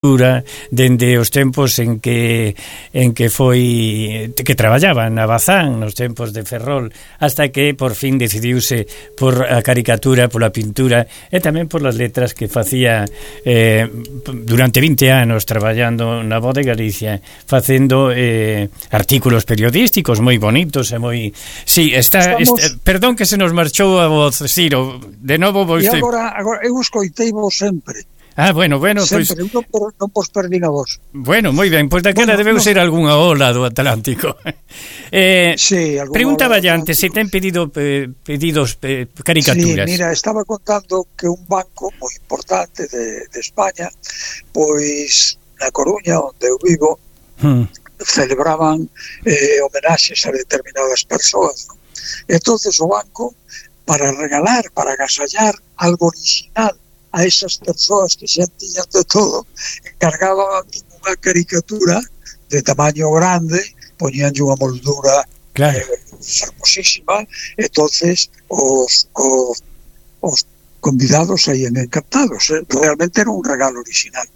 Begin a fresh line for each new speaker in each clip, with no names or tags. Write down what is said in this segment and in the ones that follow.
dende os tempos en que foi que traballaba na Bazán, nos tempos de Ferrol, hasta que por fin decidiuse por a caricatura, pola pintura e tamén por las letras que facía durante 20 anos traballando na Voz de Galicia, facendo artículos periodísticos moi bonitos e moi... Sí, perdón que se nos marchou a voz, Ciro, de novo vou...
E agora eu escoitei vos sempre.
Bueno,
sempre, non vos perdín a vos.
Bueno, moi ben, pois daquela debeu ser algunha ola do Atlántico.
Sí,
preguntaba ya antes se ten pedidos caricaturas.
Sí, mira, estaba contando que un banco moi importante de España, pois na Coruña, onde eu vivo, celebraban homenaxes a determinadas persoas, ¿no? Entonces o banco, para regalar, para agasallar algo original a esas persoas que xa tiñan de todo, encargaban unha caricatura de tamaño grande, poñían unha moldura hermosísima, entonces os convidados saían encantados, realmente era un regalo original.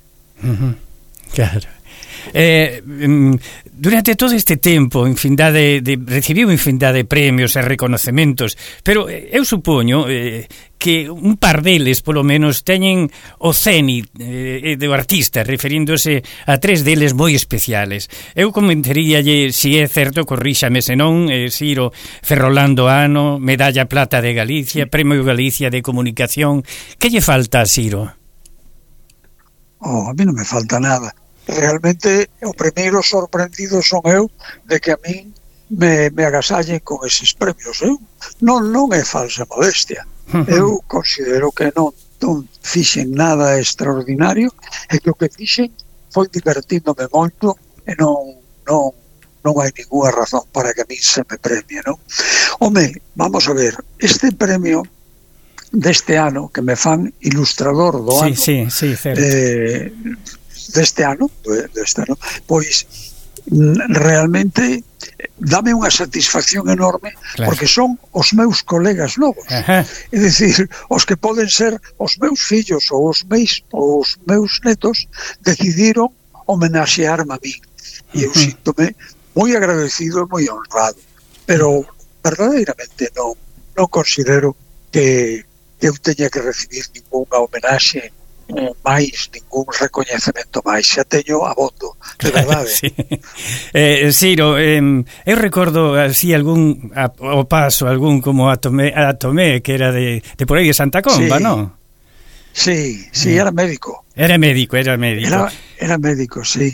Claro. Durante todo este tempo recibiu infindade de premios e reconocementos, pero eu supoño que un par deles polo menos teñen o cenit do artista, referíndose a 3 deles moi especiales. Eu comentaríalle, se é certo, corríxame se non, Ciro, Ferrolando Ano, Medalla Plata de Galicia, Premio Galicia de Comunicación. Que lle falta a Ciro?
A mí non me falta nada. Realmente o primeiro sorprendido son eu de que a min me agasallen con eses premios. Non é falsa modestia. Eu considero que non fixen nada extraordinario e que o que fixen foi divertíndome moito e non hai ninguna razón para que a min se me premie, non? Home, vamos a ver, este premio deste ano que me fan ilustrador do ano,
sí, certo.
deste ano, pois realmente dame unha satisfacción enorme, porque son os meus colegas novos. É dicir, os que poden ser os meus fillos ou os meus netos decidiron homenaxearme a mí. E eu síntome moi agradecido e moi honrado, pero verdadeiramente non considero que eu teña que recibir ninguna homenaxe máis, ningún recoñecemento máis, xa teño abondo, de verdade.
Sí. Ciro, eu recordo así algún o paso, algún como a Tomé, que era de por aí de Santa Comba, non?
Sí, era médico.
Era médico.
Era médico, sí.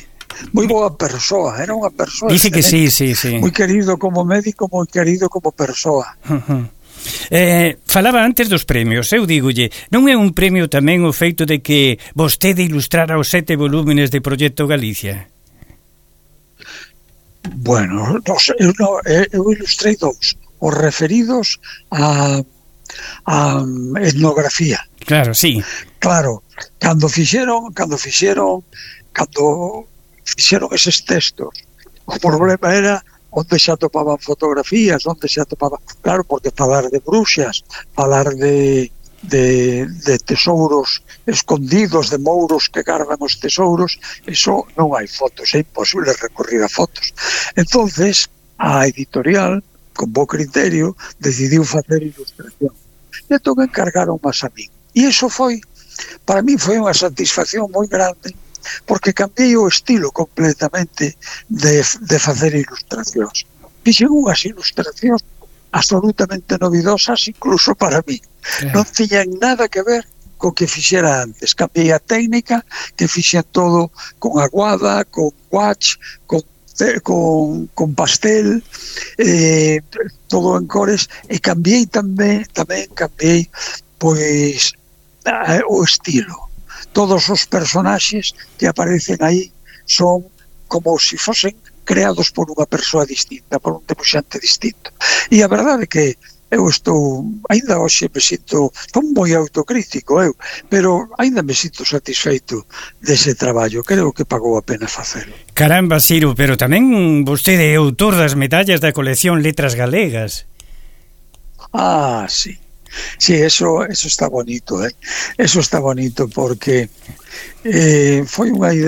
Moi boa persoa, era unha persoa.
Dice que sí.
Moi querido como médico, moi querido como persoa.
Falaba antes dos premios. Eu dígolle, non é un premio tamén o feito de que vostede ilustrara os 7 volúmenes de Proxecto Galicia?
Bueno, eu ilustrei 2, os referidos a etnografía.
Claro, sí.
Claro, cando fixeron eses textos, o problema era onde se atopaban fotografías, onde se atopaban... Claro, porque falar de bruxas, falar de tesouros escondidos, de mouros que cargan os tesouros, eso non hai fotos, é imposible recurrir a fotos. Entonces, a editorial, con bo criterio, decidiu facer ilustración. E entón encargaron máis a min. E iso foi, para mí foi unha satisfacción moi grande, porque cambiei o estilo completamente de facer ilustracións. Fixen unhas ilustracións absolutamente novidosas incluso para mí. Non tiñan nada que ver co que fixera antes. Cambiei a técnica, que fixen todo con aguada, con gouache, con pastel, todo en cores, e cambiei tamén cambiei pois o estilo. Todos os personaxes que aparecen aí son como se fosen creados por unha persoa distinta, por un debuxante distinto. E a verdade é que eu estou, ainda hoxe me sinto, son moi autocrítico pero ainda me sinto satisfeito dese traballo, creo que pagou a pena facelo.
Caramba, Ciro, pero tamén vostede é autor das medallas da colección Letras Galegas.
Sí. Sí, eso está bonito, Eso está bonito porque foi unha idea